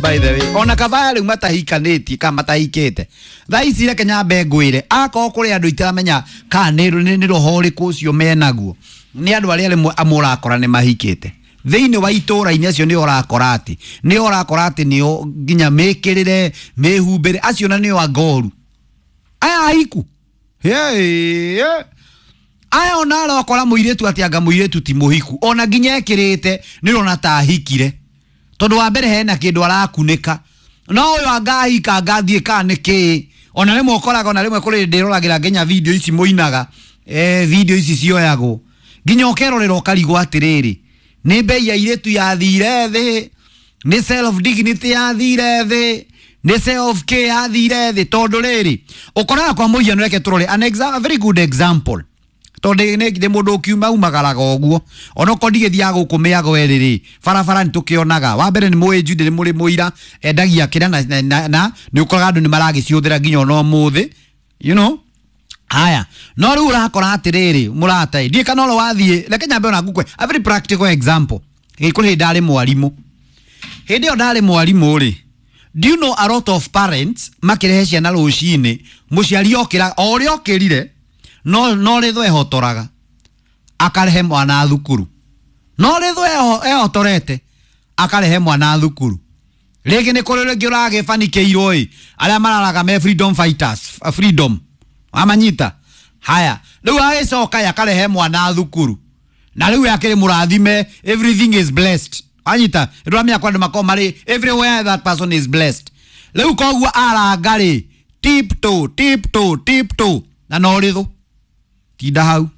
By the way, ona kabaya rĩu matahikanĩtie kana matahikĩte thaa ici, reke nyambe ngwĩre, akorwo kũrĩ andũ itaramenya kana nĩ roho ũrĩkũ ũcio menaguo, nĩ andũ arĩa rĩmwe amũrakora nĩ mahikĩte thĩinĩ wa itũra-inĩ, acio nĩo ũrakora atĩ nĩo nginya mĩkĩrĩre mĩhumbĩre acio na nĩo angoru aya ahiku. Hey, aya ona arakora mũirĩtu atĩ anga mũirĩtu ti mũhiku, ona nginya ekĩrĩte nĩ ũrona ta ahikire, tondũ wa mbere hena kĩndũ arakunĩka, no ũyũ angahika angathiĩ kana nĩ kĩĩ. Ona rĩmwe ũkoraga, ona rĩmwe kũrĩ ndĩroragĩra nginya video ici mũinaga, video ici cioyagwo nginya ũkerorera ũkarigwo atĩrĩrĩ, nĩ mbei ya airĩtu yathire thĩ, nĩ self dignity yathire thĩ, nĩ self care yathire thĩ? Tondũ rĩrĩ, ũkoraga kwa mũhiano, reke tũrore a very good example, tondũ nĩ mũndũ ũkiuma umagaraga ũguo, onokorwo ndigĩthiaga gũkũ mĩago ĩrĩ rĩ, barabara nĩ tũkĩonaga. Wa mbere nĩ mũĩ Jude nĩ mũrĩ mũira endagia kĩrĩa na nĩ ũkoraga andũ nĩ maragĩciũthĩra nginya ona ũmũthĩ. Haya, no rĩu ũrakora atĩrĩrĩ, mũrata, ndiĩ kana ũrĩa wathiĩ, reke nyambe ona ngũkwe a very practical example. Kũrĩ hĩndĩ ndarĩ mwarimũ, hĩndĩ ĩyo ndarĩ mwarimũ rĩ, do you know a lot of parents makĩrehe ciana rũcinĩ, mũciari okĩra o ũrĩa okĩrire, no rĩthwo ehotoraga akarehe mwana thukuru, no rĩthwo ehotorete akarehe mwana thukuru. Rĩngĩ nĩ kũrĩ rĩngĩ ũragĩbanikĩirwo ĩ, arĩa mararaga me freedom fighters, freedom amanyita. Haya, rĩu agĩcoka akarehe mwana thukuru, na rĩu akĩrĩ mũrathime, everything is blessed, anyita ndũramenya kwa andũ makorwo marĩ everywhere, that person is blessed. Rĩu koguo aranga rĩ, tiptoe, tiptoe, tiptoe, na no rĩthũ tinda hau.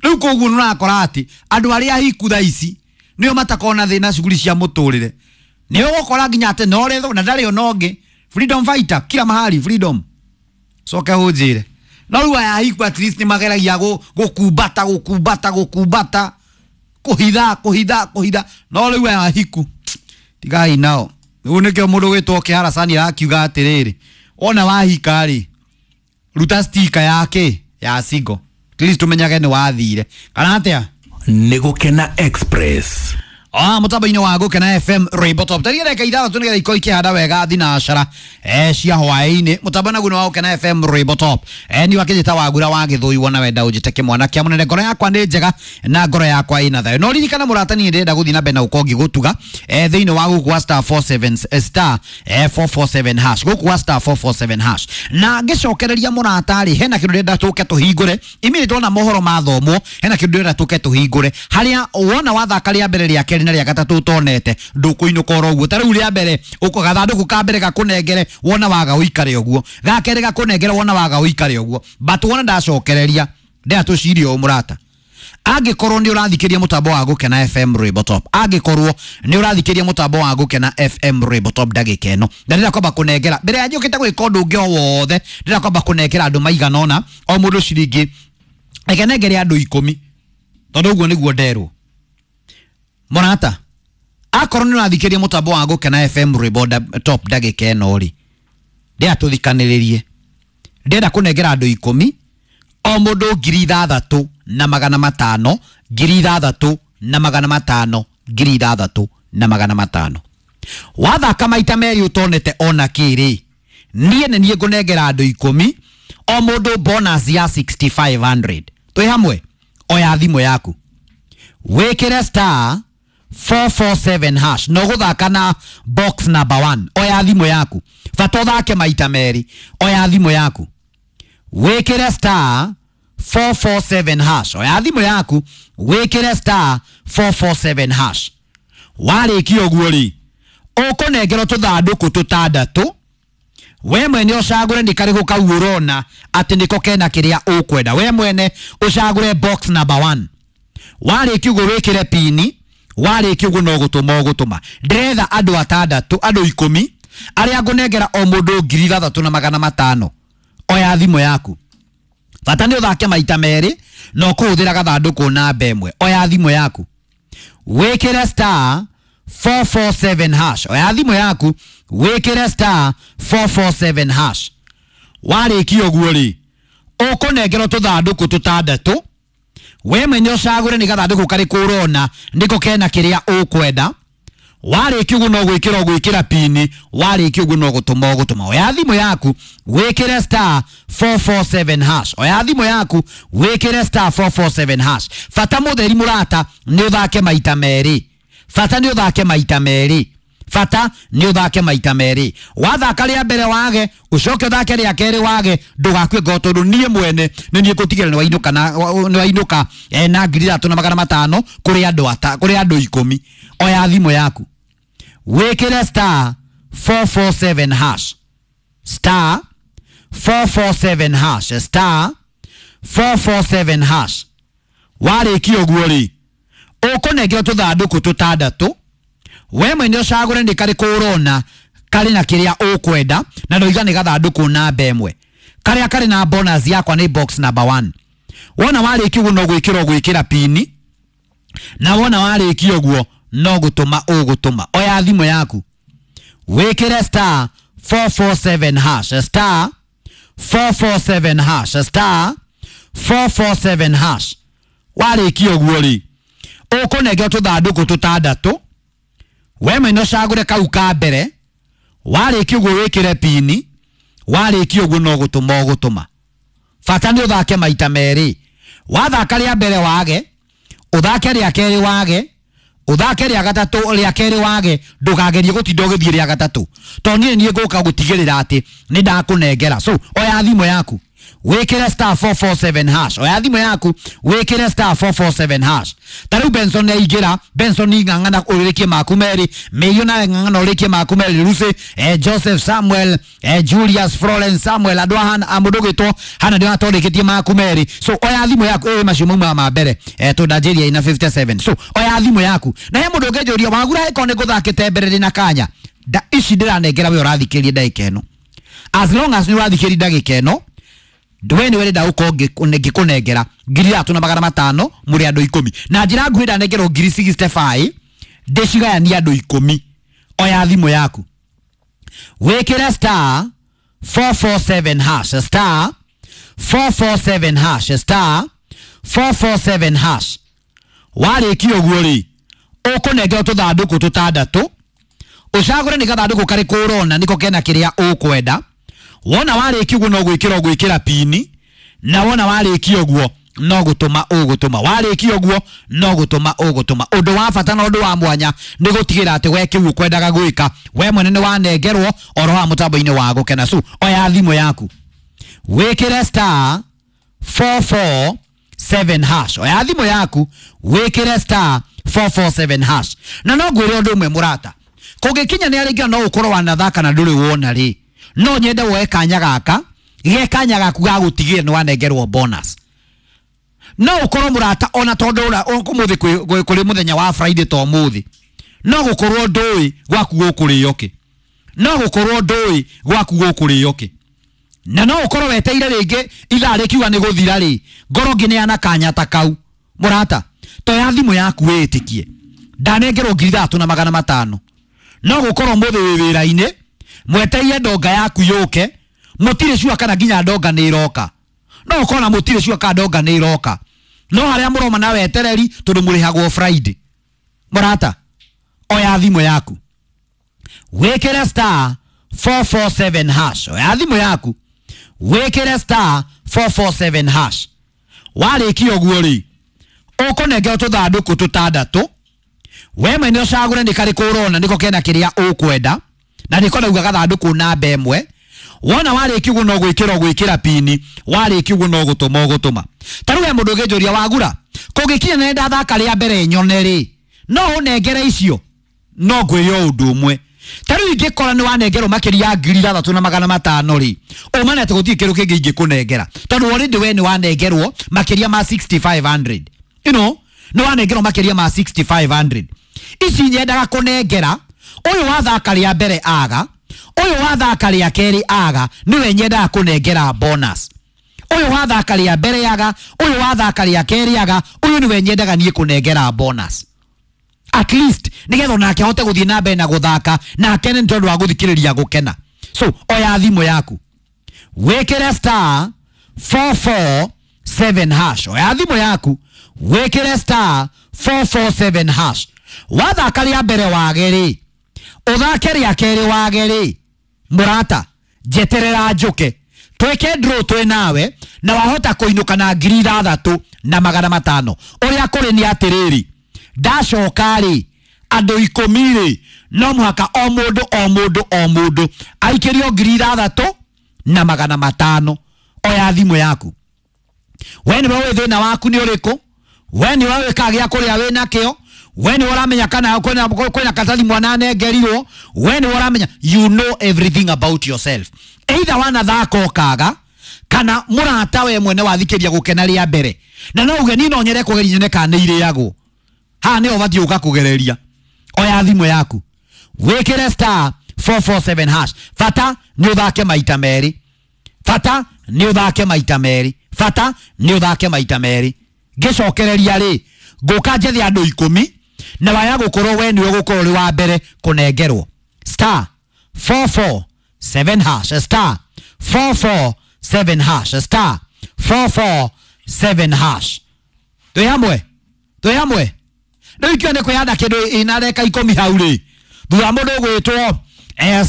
Rĩu koguo nĩ ũrakora atĩ andũ arĩa ahiku thaa ici nĩo matakorwo na thĩna cuguri cia mũtũrĩre, nĩ ũgũkora nginya atĩ no rĩthũ na ndarĩ ona ũngĩ, freedom fighter kila mahali, freedom coke ũnjĩre. No rĩu aya ahiku at least nĩ mageragia gũkumbata gũkumbata gũkumbata, kũhitha kũhitha kũhitha, no rĩu aya ahiku tigai nao. Rĩu nĩkĩo mũndũ gwĩtwo Kĩharacani arakiuga atĩrĩrĩ, wona wahika rĩ, ruta stika yake ya single, at least tũmenyage nĩ wathire kana atĩa. Nĩ Gũkena Express. Mũtambo-inĩ wa Gũkena FM Rainbow Top, taria ndagĩka 6 nĩgetha ikorwo ikĩhanda wega thinacara cia hwaĩ-inĩ. Mũtambo naguo nĩ wa Gũkena FM Rainbow Top. Ni wakĩnjĩta Wagura wa Gĩthũi, wona wenda ũnjĩte kĩmwana kĩa mũnene. Ngoro yakwa nĩ njega na ngoro yakwa ĩna thayũ. No ririkana mũrata, niĩ ndĩrenda gũthiĩ na mbere na gũkorwo ngĩgũtuga thĩinĩ wa gũkũ wa star 47 star 447 hash, gũkũ wa star 447 hash. Na ngĩcokereria mũrata rĩ, hena kĩndũ ndĩrenda tũke tũhingũre immediately wona mohoro mathomwo. Hena kĩndũ ndĩrenda tũke tũhingũre harĩa wona wathaka rĩa mbere, rĩa kerĩ na rĩa gatatũ ũtonete, ndũkũinũka oro ũguo. Ta rĩu rĩa mbere ũko gathandũkũ ka mbere gakũnengere, wona waga ũikare ũguo, ga kerĩ gakũnengere, wona waga ũikare ũguo. But wona ndacokereria, ndĩra tũcirie ũũ mũrata, angĩkorwo nĩ ũrathikĩria mũtambo wa Gũkena FM Rainbow Top, angĩkorwo nĩ ũrathikĩria mũtambo wa Gũkena FM Rainbow Top ndagĩka ĩno, na ndĩrenda kwamba kũnengera, mbere ya njũkĩte gwĩka ũndũ ũngĩ o wothe, ndĩrenda kwamba kũnengera andũ maigana ũna, o mũndũ ciringi, reke nengere andũ 10, tondũ ũguo nĩguo nderwo. Mũrata, akorwo nĩ ũrathikĩria mũtambo wa Gũkena FM Rainbow Top ndagĩka ĩno rĩ, ndĩrenda tũthikanĩrĩrie. Ndĩrenda kũnengera andũ 10, o mũndũ 6,500, 6,500, 6,500. Wathaka maita merĩ ũtonete ona kĩrĩ, niĩ nĩ niĩ ngũnengera andũ 10, o mũndũ bonus ya 6500. Twĩ hamwe? Oya thimũ yaku, wĩkĩre star 447 hash, no gũthaka na box number 1. Oya thimũ yaku, bata ũthake maita merĩ. Oya thimũ yaku, wĩkĩre star 447 hash. Oya thimũ yaku, wĩkĩre star 447 hash. Warĩkia ũguo rĩ, ũkũnengerwo tũthandũkũ tũtandatũ, we mwene ũcagũre nĩ karĩkũ kau ũrona atĩ nĩko kena kĩrĩa ũkwenda. We mwene ũcagũre box number 1. Warĩkia ũguo wĩkĩre pini. Warĩkia ũguo no gũtũma ũgũtũma. Ndĩretha andũ atandatũ, andũ 10 arĩa ngũnengera o mũndũ 6,500. Oya thimũ yaku, bata nĩ ũthake maita merĩ na ũkũhũthĩra gathandũkũ namba 1. Oya thimũ yaku, wĩkĩre star 447 hash. Oya thimũ yaku, wĩkĩre star 447 hash. Warĩkia ũguo rĩ, ũkũnengerwo tũthandũkũ tũtandatũ, we mwene ũcagũre nĩ gathandũkũ karĩkũ ũrona nĩko kena kĩrĩa ũkwenda. Warĩkia ũguo no gwĩkĩra ũgwĩkĩra pini, warĩkia ũguo no gũtũma ũgũtũma. Oya thimũ yaku wĩkĩre star 447 hash. Oya thimũ yaku wĩkĩre star 447 hash. Bata mũtheri mũrata nĩ ũthake maita merĩ. Bata nĩ ũthake maita merĩ. Bata nĩ ũthake maita merĩ. Wathaka rĩa mbere wage, ũcoke ũthake rĩa kerĩ wage, ndũgakue ngoro tondũ niĩ mwene nĩ niĩ ngũtigĩrĩra nĩ wainũka na nĩ wainũka na 3500 kũrĩ andũ ata kũrĩ andũ 10. Oya thimũ yaku wĩkĩre star 447 hash, star 447 hash, star 447 hash. Warĩkia ũguo rĩ, ũkũnengerwo tũthandũkũ tũtandatũ, we mwene ũcagũre nĩ karĩkũ ũrona karĩ na kĩrĩa ũkwenda, na ndoiga nĩ gathandũkũ namba ĩmwe. Karĩa karĩ na bonus yakwa nĩ box number 1. Wona warĩkia ũguo no gwĩkĩra ũgwĩkĩra pini, na wona warĩkia ũguo no gũtũma ũgũtũma. Oya thimũ yaku wĩkĩre star 447 hash, star 447 hash, star 447 hash. Warĩkia ũguo rĩ, ũkũnengerwo tũthandũkũ tũtandatũ, we mwene ũcagũre kau ka mbere, warĩkia ũguo wĩkĩre pini, warĩkia ũguo no gũtũma ũgũtũma. Bata nĩ ũthake maita merĩ. Wathaka rĩa mbere wage, ũthake rĩa kerĩ wage, ũthake rĩa gatatũ rĩa kerĩ wage, ndũkagerie gũtinda ũgĩthiĩ rĩa gatatũ, tondũ niĩ niĩ ngũka gũtigĩrĩra atĩ nĩ ndakũnengera. So oya thimũ yaku wĩkĩre star 447 hash. Oya thimũ yaku wĩkĩre star 447 hash. Ta rĩu Benson nĩaingĩra. Benson ng'ang'ana ũrĩkie maku merĩ, Mĩiyũ nawe ng'ang'ana ũrĩkie maku merĩ, Lucy, Joseph Samuel, Julius Florence Samuel, andũ a mũndũ ũgwĩtwo Hana ndĩrona ta ũrĩkĩtie maku merĩ. So oya thimũ yaku, macio maumaga ma mbere, tondũ ndanjĩria ina 57. So oya thimũ yaku. Na he mũndũ ũngĩnjũria wagura ĩkorwo nĩ ngũthakĩte mbere ndĩna kanya, nda ici ndĩranengera we ũrathikĩrĩria ndagĩka ĩno. As long as nĩ ũrathikĩrĩria ndagĩka ĩno, we nĩ ũrenda gũkorwo ngĩkũnengera 3500 mũrĩ andũ 10. Na njĩra nguhĩ ndanengerwo 65,000 ndĩcigayanie andũ 10. Oya thimũ yaku wĩkĩre star 447 hash, star 447 hash, star 447 hash. Warĩkia ũguo rĩ, ũkũnengerwo tũthandũkũ tũtandatũ, ũcagũre nĩ gathandũkũ karĩkũ ũrona nĩko kena kĩrĩa ũkwenda. Wona warĩkia ũguo no gwĩkĩra ũgwĩkĩra pini, na wona warĩkia ũguo no gũtũma ũgũtũma. Warĩkia ũguo no gũtũma ũgũtũma. Ũndũ wa bata na ũndũ wa mwanya nĩ gũtigĩrĩra atĩ we kĩu ũkwendaga gwĩka we mwene nĩ wanengerwo oro haha mũtambo-inĩ wa gũkena. So oya thimũ yaku wĩkĩre star 447 hash. Oya thimũ yaku wĩkĩre star 447 hash. Na no ngwĩre ũndũ ũmwe mũrata, kũngĩkinya nĩ arĩngĩ no ũkorwo wanathaka na ndũrĩ wona rĩ, no nyende woe kanya gaka, ge kanya gaku ga gũtigĩrĩra nĩ wanengerwo bonus. No ũkorwo mũrata ona tondũ ũmũthĩ kũrĩ mũthenya wa Friday to ũmũthĩ, no gũkorwo ndũĩ gwaku gũkũrĩo kĩ, no gũkorwo ndũĩ gwaku gũkũrĩo kĩ, na no ũkorwo weteire rĩngĩ ithaa rĩkiuga nĩ gũthira rĩ, ngorwo ngĩneana kanya ta kau. Mũrata, toya thimũ yaku wĩĩtĩkie ndanengerwo 3500. No gũkorwo mũthĩ wĩ wĩra-inĩ, mweteire ndonga yaku yũke, mũtirĩ cua kana nginya ndonga nĩ ĩroka. No ũkorwo na mũtirĩ cua kana ndonga nĩ ĩroka, no harĩa mũroma na wetereri tondũ mũrĩhagwo Friday. Mũrata, oya thimũ yaku wĩkĩre star 447 hash. Oya thimũ yaku wĩkĩre star 447 hash. Warĩkia ũguo rĩ, ũkũnengerwo tũthandũkũ tũtandatũ, we mwene ũcagũre nĩ karĩkũ ũrona nĩko kena kĩrĩa ũkwenda, na nĩko ndauga gathandũkũ namba ĩmwe. Wona warĩkia ũguo no gwĩkĩra ũgwĩkĩra pini, warĩkia ũguo no gũtũma ũgũtũma. Ta rĩu he mũndũ ũngĩnjũria wagura, kũngĩkinya nĩ ndathaka rĩa mbere nyone rĩ, no ũnengere icio? No ngwĩre o ũndũ ũmwe, ta rĩu ingĩkora nĩ wanengerwo makĩria ya 3500 rĩ, ũmane atĩ gũtirĩ kĩndũ kĩngĩ ingĩkũnengera, tondũ already we nĩ wanengerwo makĩria ma 6500. You know, nĩ wanengerwo makĩria ma 6500. Ici nyendaga kũnengera ũyũ wathaka rĩa mbere aga, ũyũ wathaka rĩa kerĩ aga, nĩwe nyendaga kũnengera bonus. Ũyũ wathaka rĩa mbere aga, ũyũ wathaka rĩa kerĩ aga, ũyũ nĩwe nyendaga niĩ kũnengera bonus. At least nĩgetha onake ahote gũthiĩ na mbere na gũthaka, na akene nĩ tondũ wa gũthikĩrĩria gũkena. So oya thimũ yaku wĩkĩre star 447 hash. Oya thimũ yaku wĩkĩre star 447 hash. Wathaka rĩa mbere wage rĩ, Ũthake rĩa kerĩ wage rĩ, mũrata, njeterera njũke twĩke draw twĩ nawe, na wahota kũinũka na 6500. Ũrĩa kũrĩ nĩ atĩrĩrĩ, ndacoka rĩ, andũ 10 rĩ, no mũhaka o mũndũ o mũndũ o mũndũ aikĩrio 6500. Oya thimũ yaku. We nĩwe ũĩ thĩna waku nĩ ũrĩkũ, we nĩwe ũĩ kana gĩa kũrĩa wĩ nakĩo, we nĩwe ũramenya kana kwĩna katathi mwana anengerirwo, we nĩwe ũramenya, you know everything about yourself. Either wanathaka ũkaga, kana mũrata we mwene wathikĩria gũkena rĩa mbere, na no uge niĩ no nyende kũgeria nyone kana nĩ irĩagwo. Haha nĩho ũbatiĩ gũka kũgereria. Oya thimũ yaku, wĩkĩre star 447 hash. Bata nĩ ũthake maita merĩ, bata nĩ ũthake maita merĩ, bata nĩ ũthake maita merĩ. Ngĩcokereria rĩ, ngũka njethe andũ 10, na waya gũkorwo we nĩwe ũgũkorwo ũrĩ wa mbere kũnengerwo. Star 447 hash, star 447 hash, star 447 hash. Twĩ hamwe, twĩ hamwe. Rĩu ikio nĩ kwĩhanda kĩndũ ina reka 10 hau rĩ, thutha mũndũ ũgwĩtwo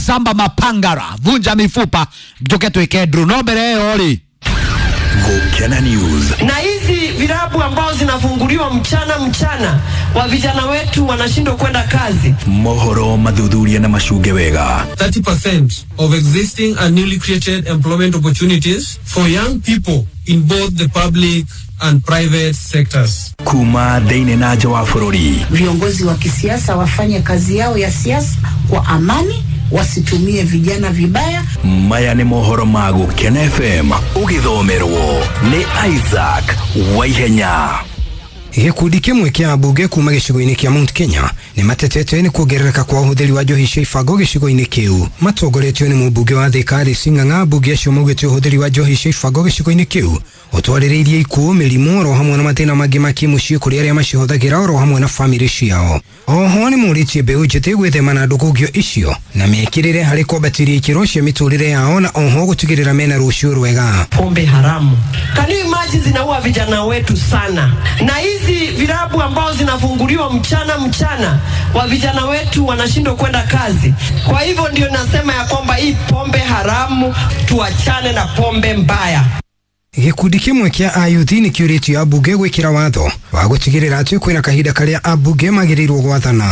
Samba Mapangara, vunja mifupa, njoke twĩke draw. No mbere ĩyo rĩ, Gukena News. Na hizi vilabu ambao zinafunguliwa mchana mchana, wa vijana wetu wanashindwa kwenda kazi. Mohoro mathuthuria na macunge wega. 30% of existing and newly created employment opportunities for young people in both the public and private sectors. Kuma thĩinĩ na nja wa bũrũri. Viongozi wa kisiasa wafanye kazi yao ya siasa kwa amani, wasitumie vijana vibaya. Maya nĩ mohoro ma Gũkena FM ũgĩthomerwo nĩ Isaac Waihenya. Gĩkundi kĩmwe kĩa ambunge kuma gĩcigo-inĩ kĩa Mount Kenya nĩ matetete nĩ kuongerereka kwa ũhũthĩri wa njohi cia ibango gĩcigo-inĩ kĩu. Matongoretio nĩ mũmbunge wa Thika Alice Ng'ang'a, ambunge acio maugĩte ũhũthĩri wa njohi cia ibango gĩcigo-inĩ kĩu ũtwarĩrĩirie ikuũ, mĩrimũ oro hamwe na mathĩna mangĩ ma kĩmũciĩ kũrĩ arĩa macihũthagĩra oro hamwe na bamĩrĩ ciao. Oho nĩ morĩtie mbeũ njĩthĩ gwĩthema na ndũgũngio icio na mekĩrĩre harĩ kwambatĩria ikĩro cia mĩtũrĩre yao na oho gũtigĩrĩra mena rũciũ rwega. Pombe haramu. Can you imagine zinaua vijana wetu sana. Na hizi vilabu ambao zinafunguliwa mchana mchana, wa vijana wetu wanashindwa kwenda kazi. Kwa hivyo ndio nasema ya kwamba hii pombe haramu, tuachane na pombe mbaya. Gĩkundi kĩmwe kĩa ayuthi nĩ kĩũrĩtio ambunge gwĩkĩra watho wa gũtigĩrĩra atĩ kwĩna kahinda karĩa ambunge magĩrĩirwo gwathana.